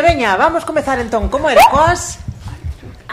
Veña, vamos comezar entón. Como era coas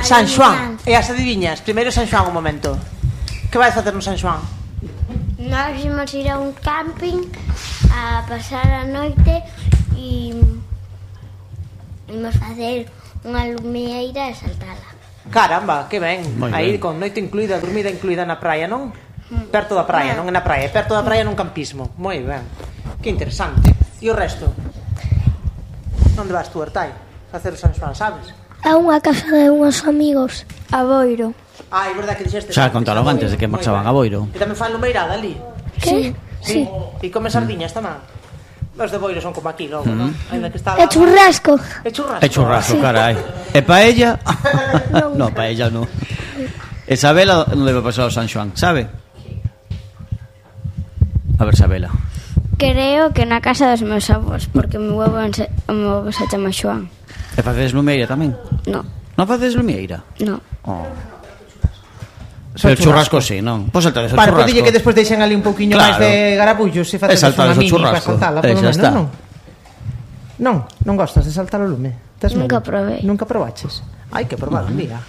San Xoán e as adiviñas. Primeiro San Xoán un momento. Que vais facer no San Xoán? Nós imos ir a un camping a pasar a noite e imos facer unha lumieira e saltala. Caramba, que ben. Moi Aí ben. con noite incluída, dormida incluída na praia, non? Perto da praia, non é na praia, perto da praia nun campismo. Moi ben. Que interesante. E o resto? Onde vas tú, Artai? Facer o San Xoán, sabes? A unha casa de unhos amigos, a Boiro. Ah, é verdade que dixeste. Xa contaron antes de que marchaban a Boiro. Que tamén fan lumeirada ali. Sí, sí. E come sardiñas tamén. Os de Boiro son como aquí logo, non? Ainda que está E churrasco. É churrasco. É churrasco, carai. E paella? No, paella non. E Sabela non debe pasar o San Xoán, sabe? A ver, Sabela. Creo que na casa dos meus avós, porque o meu avó se chama Xoán. E facedes lumeira tamén? No, Non facedes lumeira? no. Oh. Pero churrasco sí, non? Pois saltades o Para, churrasco. podille que despois deixen ali un pouquiño Claro. máis de garabullo se facedes saltades unha o mini para churrasco. saltala, polo Xa menos, está. non? Non gostas de saltar o lume? Tes Nunca medo? probei. Nunca probaches? Hai que probar un día.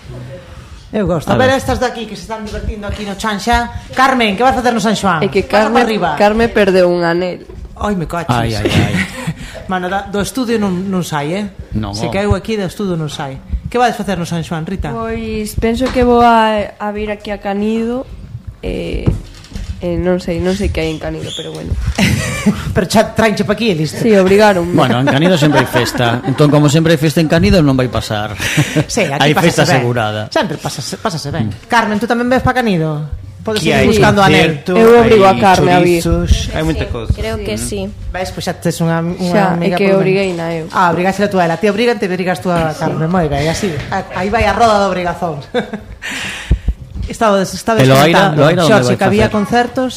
Eu gosto. A A ver ver. estas de aquí que se están divertindo aquí no chan xa. Carmen, que vas facer no San Xoán? É que Pasa para arriba. Carme perdeu un anel. Ai, me coches. Ai. Mano, do estudio non sai, Non, Se oh. caeu aquí do estudio non sai. Que vais facer no San Xoán, Rita? Pois penso que vou a vir aquí a Canido non sei que hai en Canido, pero bueno. Pero xa traenche pa aquí e listo. Sí, obrigaron. Bueno, en Canido sempre hai festa. Entón, como sempre hai festa en Canido, non vai pasar. Sí, aquí hai festa pásase ben. asegurada. Sempre pásase ben. Carmen, tú tamén ves pa Canido? Podes Que ir hai buscando anel. concerto, Eu obrigo hai a Carme a vir. chorizos, hai moita cousa. Creo que sí. Ves, pois xa tes unha Xa, é amiga que polo menos. obriguei na eu. Ah, obrigaste a tú a ela. Ti obrigan, te obrigas tú a Carmen. Moi ben, así. Aí vai a roda de obrigazóns. Estaba E Loaira, onde Xorxe, vai que había facer? concertos.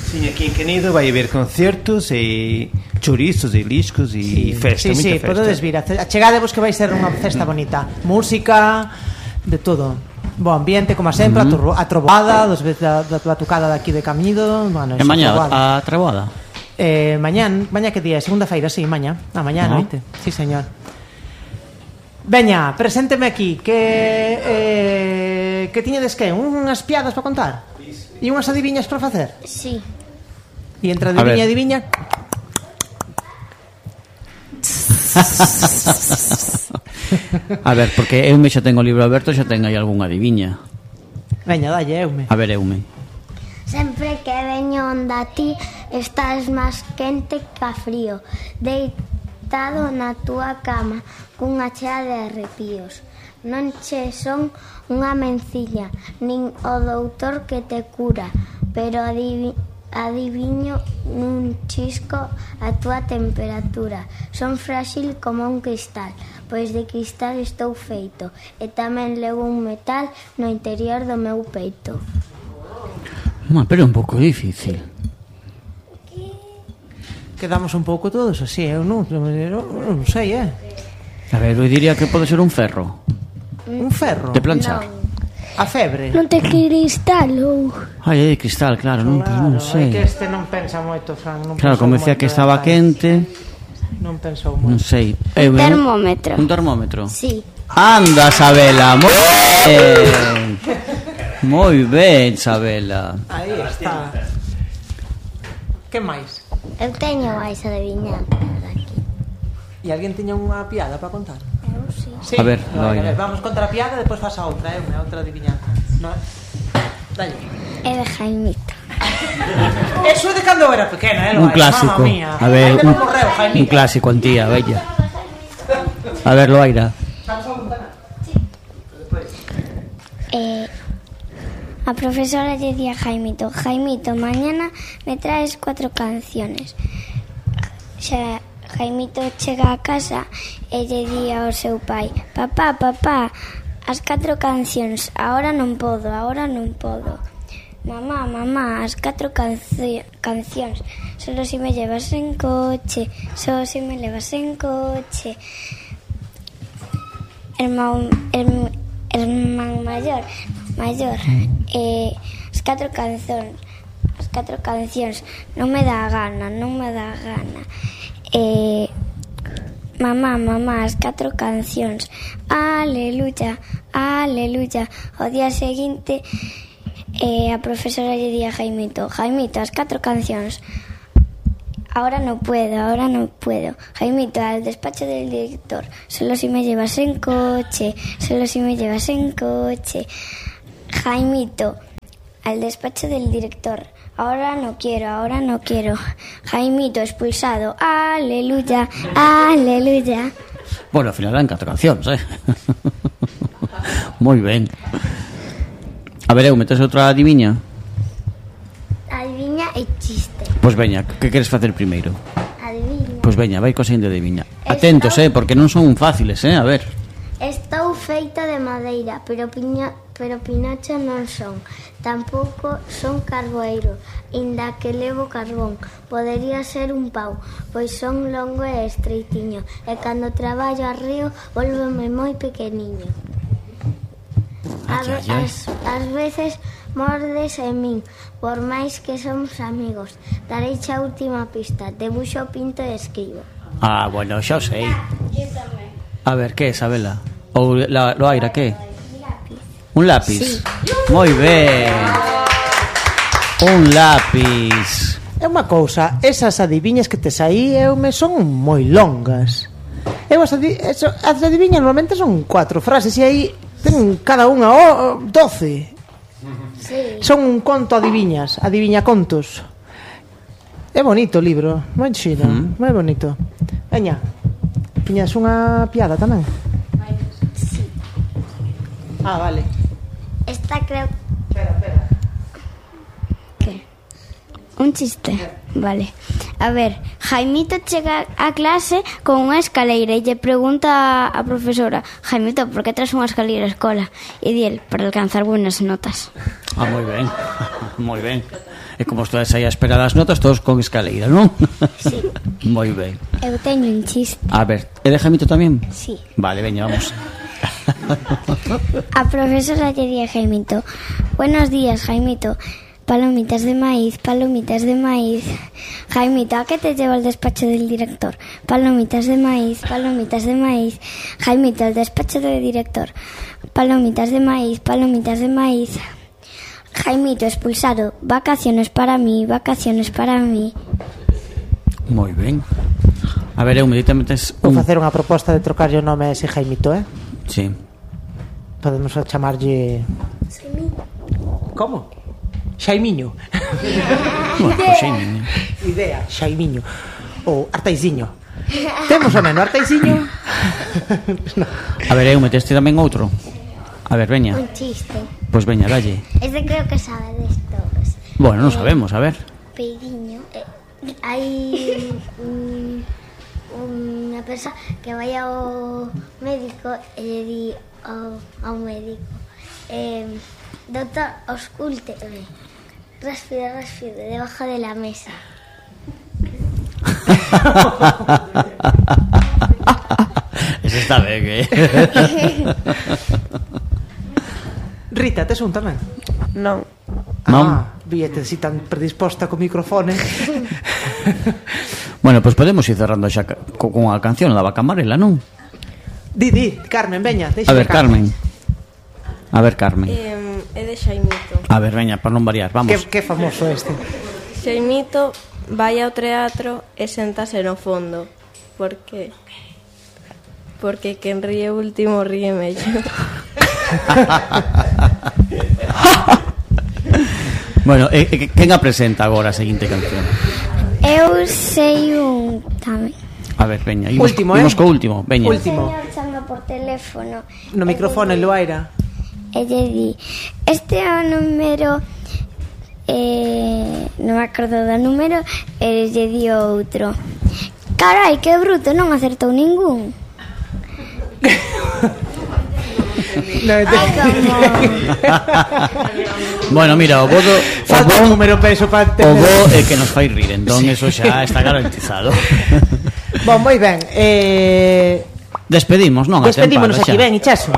Sí, aquí en Canido vai haber concertos e chorizos e liscos e festa, Sí, moita festa. podedes vir. Achegadevos que vai ser unha festa bonita. Música, de todo. Bo ambiente, como sempre, a trovoada, dos veces da batucada de aquí de Camido. Bueno, E mañá a treboada. Mañá que día? Segunda-feira, sí, mañá. A mañá a noite. Sí, señor. Veña, presénteme aquí que tiñedes que unhas piadas para contar? E unhas adiviñas para facer? Sí. E entre adiviña e adiviña A ver, porque Eume xa ten o libro aberto, xa ten aí algunha adiviña. Veña, dalle, Eume. A ver, Eume. Sempre que veño onda ti estás máis quente que frío, deitado na túa cama cunha chea de arrepíos. Non che son unha mencilla, nin o doutor que te cura, pero adiviño nun chisco a túa temperatura. Son frágil como un cristal, pois de cristal estou feito, e tamén levo un metal no interior do meu peito. Pero é un pouco difícil. Quedamos un pouco todos así, eu non sei, A ver, eu diría que pode ser un ferro. Un ferro. De planchar. A febre. Non te cristal ou... Ai, é de cristal, claro, non, pues non É sei. que este non pensa moito, Fran. Claro, como decía que estaba quente, Non pensou non moito. sei. Un termómetro. Un termómetro. Sí. Anda, Sabela, moi ben. Moi ben, Sabela. Aí está. Que máis? Eu teño máis adivinanzas aquí. E alguén tiña unha piada para contar? Eu sí. Sí. A ver, Vale, Loira. vamos contar a piada e depois faz a outra, outra adivinanza. No. Dalle. É de Jaimito. Eso é de cando eu era pequena, Un clásico. Mamma mía. A ver, Ainda non morreu, Jaimito. un clásico, antía, bella. A ver, Loaira. A profesora lle di a Jaimito: Jaimito, mañana me traes 4 canciones. Xa Jaimito chega a casa e lle di ao seu pai: Papá, as 4 cancións, agora non podo. Mamá, as 4 cancións, solo si me llevas en coche, Hermán maior, as 4 4 cancións. Non me dá gana. Mamá, as 4 cancións. Aleluya. O día seguinte a profesora lle di a Jaimito, as 4 cancións. Ahora no puedo. Jaimito, al despacho del director. Solo si me llevas en coche. Jaimito, al despacho del director. Ahora no quiero. Jaimito, expulsado. Aleluya. Bueno, ao final eran 4 cancións, Moi ben. A ver, metes outra adiviña? Adiviña e chiste. Pois veña, que queres facer primeiro? Adiviña. Pois veña, vai co seguinte adiviña. Atentos, porque non son fáciles, a ver. Estou feita de madeira, pero Pinocho non son. Tampouco son carboeiro, inda que levo carbón. Podería ser un pau, pois son longo e estreitiño. E cando traballo arreo, volveme moi pequeniño. Ás veces mordes en min, por máis que somos amigos. Dareiche a última pista. Debuxo, pinto e escribo. Bueno, xa o sei. A ver, que é, Isabela? Ou Loaira, que? Un lápiz. Sí. Moi ben. Un lápiz. É unha cousa, esas adiviñas que tes aí son moi longas. As adiviñas normalmente son 4 frases e aí ten cada unha 12. Sí. Son un conto adiviñas, adiviña contos. É bonito o libro, moi chido, moi bonito. Veña, tiñas unha piada tamén? Sí. Vale. Esta creo... Espera. ¿Qué? Un chiste. Vale. A ver, Jaimito chega a clase con unha escaleira e lle pregunta a profesora: Jaimito, por que traes unha escaleira á escola? E di el, para alcanzar buenas notas. Moi ben. E como estás aí a esperar as notas, todos con escaleira, non? Sí. Moi ben. Eu teño un chiste. A ver, é de Jaimito tamén? Sí. Vale, veña, vamos. A profesora lle di a Jaimito: buenos días, Jaimito. Palomitas de maíz. Jaimito, ¿a qué te lleva al despacho del director? Palomitas de maíz. Jaimito, al despacho del director. Palomitas de maíz. Jaimito, expulsado. Vacaciones para mí. Moi ben. A ver, eu meditamente Vou facer unha proposta de trocarlle o nome a ese Jaimito, Sí. Podemos chamarlle... Como? Xaimiño. Bueno, Xaimiño. Idea, Xaimiño. Ou Artaiziño. Temos o menos Artaiziño. No. A ver, eu meteste tamén outro. A ver, veña. Un chiste. Pois veña, dalle. Este creo que sabedes todos. Bueno, non sabemos, a ver. Peiriño. Hai unha persoa que vai ao médico e lle di ao médico: doctor, auscúlteme. Respire debajo de la mesa. Eso está ben, Rita, tes un tamén? Non. Víete si tan predisposta co microfone. Bueno, pois podemos ir cerrando xa con unha canción da Vaca Amarela, non? Di, Carmen, veña. A ver, Carmen. É de Xaimito. A ver, veña, para non variar, vamos. Que famoso este. Xaimito vai ao teatro e séntase no fondo. Por que? Porque quen ríe último ríe mellor. Bueno, quen a presenta agora a seguinte canción? Eu sei un tamén. A ver, veña, imos co último, veña. Último. O señor chama por teléfono. No micrófono, Loaira. E lle di: este é o número, non me acordo do número, e lle di outro: carai, que bruto, non acertou ningún. Bueno, mira, o bo número peso para o bo é que nos fai rir, entón eso xa está garantizado. Bon, moi ben. Despedimos, non? Despedímonos aquí, ben, Ichaso.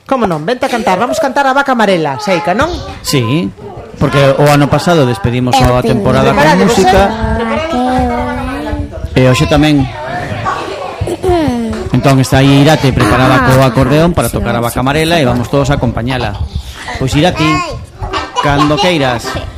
Como non? Vente a cantar, vamos cantar a Vaca Amarela, Seica, non? Sí. porque o ano pasado despedimos a temporada con música e hoxe tamén. Entón está aí Irate preparada co acordeón para tocar a vaca amarela e vamos todos a acompañala. Pois Irati, cando queiras.